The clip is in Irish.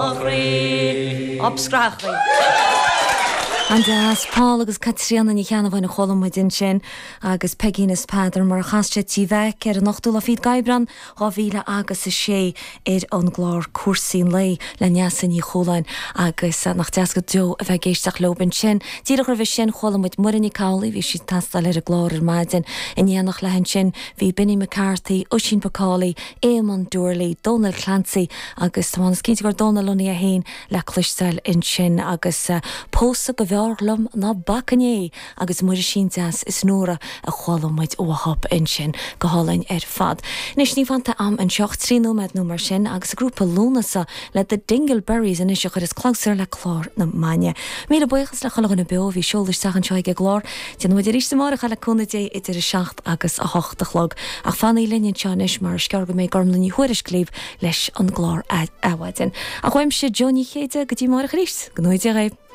Chroí, up scrathachaí. An-deas. Paul agus Caitríona Ní Cheannabháin a chuala muid ansin agus Peigín is Peadar mar a chas siad Tí Mheaic ar an ochtú lá fichead d'Aibreán 2000 agus 6 ar an gclár Cúrsaí an Lae le Neasa Ní Chualáin agus nach deas go deo a bheith ag éisteacht leob ansin. Díreach roimhe sin chuala muid Muireann Nic Amhlaoibh, bhí sí ag tástáil ar an gclár ar maidin. In éineacht léi ansin bhí Benny McCarthy, Oisín McCauley, Éamonn Doorley, Dónal Clancy agus tá mé cinnte gur Dónal Lunny é féin le cloisteáil ansin agus Pósadh go mb'fhearr liom ná bacfainn é agus Muirisín Deas is Nóra a chuala muid uathub ansin. Go hálainn ar fad. Anois níl fanta a'm anseo ach 3 nóiméad nó mar sin agus an grúpa Lúnasa le The Dingleberries anois a chuireas clabhsúr le clár na maidne. Míle buíochas le chuile dhuine beo a bhí ag seoladh isteach anseo ag an gclár. Déanfaidh muid arís amárach é le cúnamh Dé idir 7 agus 8 a chlog. Ach fanaigí linn anseo anois mar is gearr go mbeidh Gormlaith Ní Thuairisg libh leis an gclár Adhmhaidin. Ach uaimse Joe Ní Chéide go dtí amárach arís, go ngnóthaí Dia dhaoibh.